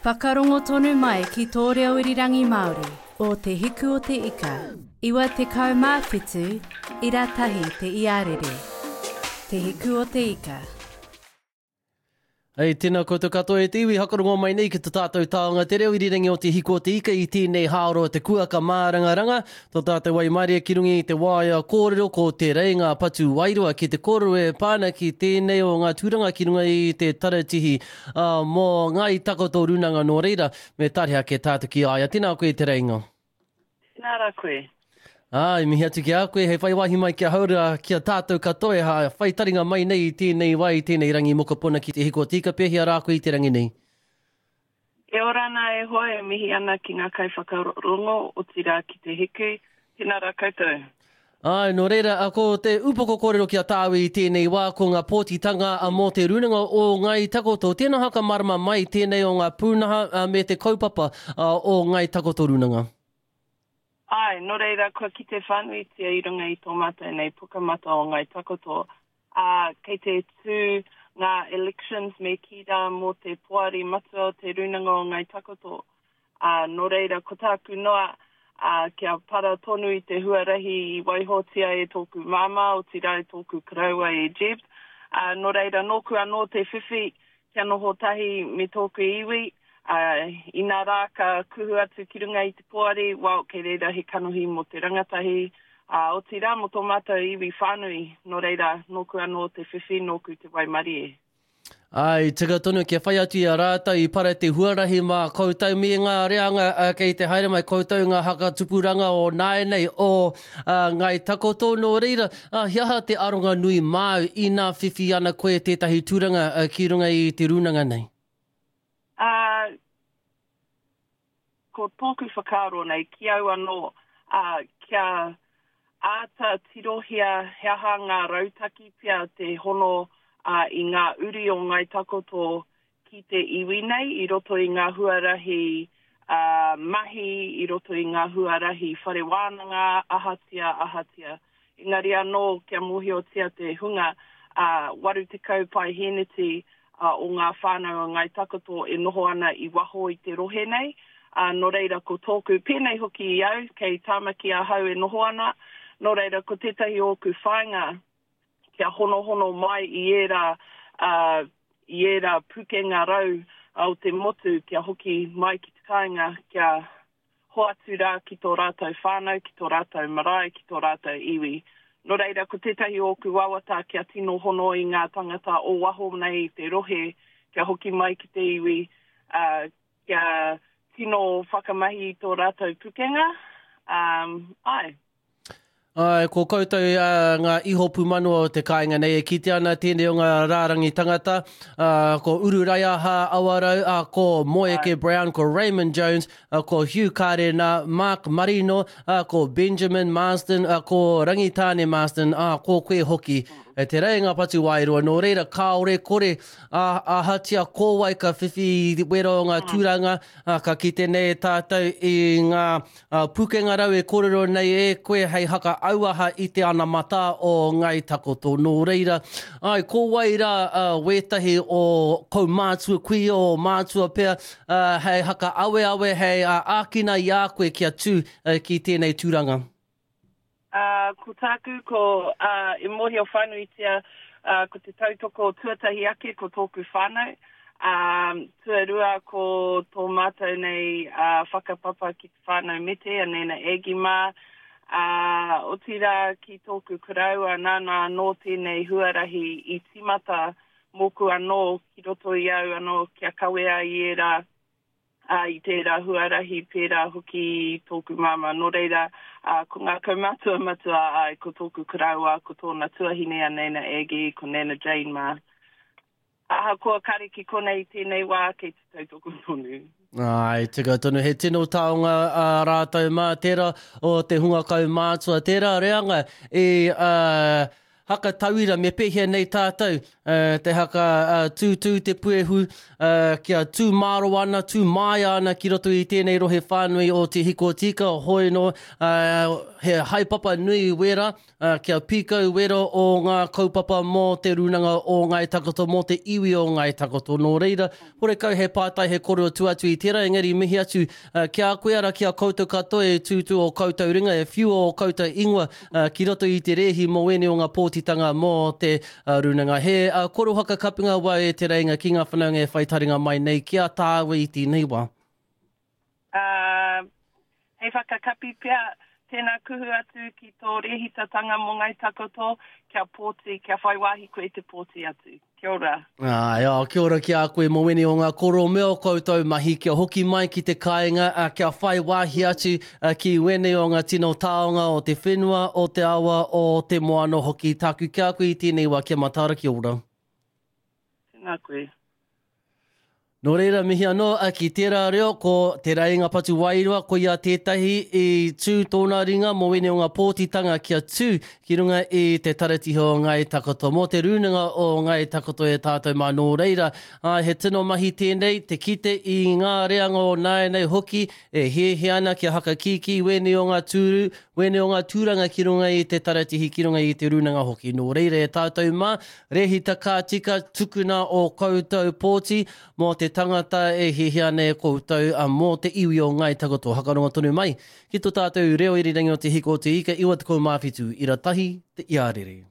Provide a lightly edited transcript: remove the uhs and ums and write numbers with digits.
Whakarongo tonu mai ki tō reo irirangi Māori o Te Hiku o Te Ika, 97 ira tahi te iarere. Te Hiku o Te Ika. Hei, tēnā koutou katoa e te iwi hakarongo mai nei ki to tātou taonga te reo irirangi o Te Hiku o Te Ika i tēnei hāora o te kuaka mārangaranga. Tō tātou waimarie ki runga i te waea kōrero ko Te Reinga Patu Wairoa ki te kōrero e pā ana ki tēnei o ngā tūranga ki runga i te taratihi mō Ngāi Takoto Rūnanga nō reira, me tare ake tātou ki a ia. Tēnā koe Te Reinga. Tēnā rā koe. Ā, i mihi atu ki a koe hei whai wāhi mai ki ahau rā, ki a tātou katoa e whai taringa mai nei i tēnei wā, i tēnei rangi mokopuna ki te hiko tika pēhea rā koe i te rangi nei? E ora ana e hoa, e mihi ana ki ngā kaiwhakarongo, otirā ki te hiku. Tēnā rā koutou. Āe, nō reira, ko te upoko kōrero ki a tāu i tēnei wā, ko ngā pōtitanga mō te Rūnanga o Ngāi Takoto. Tēnā whakamārama mai tēnei o ngā pūnaha me te kaupapa o Ngāi Takoto Rūnanga. Āe, nō reira, kua kite whānuitia i runga i tō mātou nei pukamata o Ngāi Takoto, ā, kei te tū ngā elections me kī rā mō te Poari Matua o te Rūnanga o Ngāi Takoto. Ā, nō reira, ko tāku noa, ā, kia para tonu i te huarahi i waihotia e tōku māmā, otirā e tōku koroua e Jeb. Ā, nō reira, nōku anō te whiwhi kia noho tahi me tōku iwi, ā, inā rā ka kuhu atu ki runga i te poari, well, kei reira he kanohi mō te rangatahi, ā, otirā mō tō mātou iwi whānui, nō reira, nōku anō te whiwhi, nōku te waimarie. Ā, i tika tonu kia whai atu i a rātou i para te huarahi mā koutou me ngā reanga kei te haere mai koutou ngā hakatupuranga o nāianei o Ngāi Takoto. Nō reira, he aha te aronga nui māu inā whiwhi ana koe tētahi tūranga ki runga i te rūnanga nei? Ā, Ko tōku whakaaro nei, ki au anō, ā, kia āta tirohia he aha ngā rautaki pea te hono ā, i ngā uri o Ngāi Takoto ki te iwi nei i roto i ngā huarahi ā, mahi, i roto i ngā huarahi whare wānanga, ahatia, ahatia. Engari anō kia mōhiotia te hunga, ā, 80 paehēneti o ngā whānau o Ngāi Takoto e noho ana i waho i te rohe nei, ā, nō reira ko tōku, pēnei hoki i au, kei Tāmaki ahau e noho ana, nō reira ko tētahi o ōku whāinga kia honohono mai i ērā, ā, i ērā pukenga rau o te motu kia hoki mai ki te kāinga kia hoatu rā ki tō rātou whānau, ki tō rātou marae, ki tō rātou iwi. Nō reira, ko tētahi o ōku wawata kia tino hono i ngā tangata o waho nei i te rohe kia hoki mai ki te iwi, ā, kia tino whakamahi i tō rātou pukenga, ā, āe. Āe, ko koutou ngā iho pūmanawa o te kāinga nei e kitea ana tēnei o ngā rārangi tangata, ā, ko Uru Raiaha Awarau, ā, ko Moeke Brown, ko Raymond Jones, ā, ko Hugh Karena, Mark Marino, ā, ko Benjamin Marsden, ā, ko Rangitāne Marsden, ā, ko koe hoki. E te reinga patu wairua, nō reira kāore kore, ā, ahatia ko wai ka whiwhi i wera o ngā tūranga, ā, ka kite nei e tātou i ngā Ā, pukenga rau e kōrero nei e koe hei haka auaha i te anamata o Ngāi Takoto. Nō reira, āe, ko wai rā wētahi o kaumātua, kuia o mātua pea, hei haka aweawe, hei ākina i a koe kia tū ki tēnei tūranga? Ā, ko tāku, ko, ā, e mōhio whānuitia, ā, ko te tautoko tuatahi ake ko tōku whānau, ā, tuarua ko tō mātou nei, ā, whakapapa ki te whānau Mete, a Nana Aggie mā, ā, otirā ki tōku koroua nāna anō tēnei huarahi i tīmata mōku anō ki roto i au anō kia kawea i ērā ā, i tērā huarahi pērā hoki i tōku māmā. Nō reira, ā, ko ngā kaumātua matua āe, ko tōku koroua, ko tōna tuahine a Nana Aggie, ko Nana Jane mā. Ahakoa kare ki konei i tēnei wā, kei te tautoko tonu. Āe, tika tonu, he tino taonga ā rātou mā, tērā o te hunga kaumātua, tērā reanga i, ā, haka tauira me pēhea nei tātou te haka tūtū te puehu kia tū māro ana, tū māia ana ki roto i tēnei rohe whānui o Te Hiko Tika, hoi nō, he haepapa nui wera Kia pīkau wero o ngā kaupapa mō Te Rūnanga o Ngāi Takoto, mō te iwi o Ngāi Takoto. Nō reira, horekau he pātai, he kōrero tua atu i tērā, engari mihi atu ki a koe, arā, ki a koutou katoa e tūtū ō koutou ringa, e whiua ō koutou ingoa ki roto i te rēhi mō ēnei o ngā pōtitanga mō te Rūnanga. He koro whakakapinga wau e Te Reinga ki ngā whanaunga e whai taringa mai nei ki a tāua i tēnei wā. Ā, hei whakakapi pea, tēnā kuhu atu ki tō rēhitatanga mō Ngāi Takoto, kia pōti, kia whai wāhi koe te pōti atu. Kia ora. Āe, ā, kia ora ki a koe Mowini o ngā koro me ō koutou mahi kia hoki mai ki te kāinga, ā, kia whai wāhi atu ki wēnei o ngā tino taonga o te whenua, o te awa, o te moana hoki. Tāku ki a koe i tēnei wā, kia mataara, kia ora. Tēnā koe. Nō reira, mihi anō ki tērā reo, ko Te Reinga Patu Wairua, koia tētahi i tū tōna ringa mō wēnei o ngā pōtitanga kia tū ki runga i te taratihi o Ngāi Takoto, mō te rūnanga o Ngāi Takoto e tātou mā. Nō reira, āe, he tino mahi tēnei, te kite i ngā reanga o nāianei hoki e hiahia ana kia hakakīkī wēnei o ngā tūru, wēnei o ngā tūranga ki runga i te taratihi, ki runga i te rūnanga hoki. Nō reira, e tātou mā, Rehita ka tika, tukuna ō koutou pōti mō te tangata e hiahia ana e koutou, mō te iwi o Ngāi Takoto. Hakarongo tonu mai ki tō tātou reo irirangi o Te Hiko o Te Ika 97 ira tahi te iarere.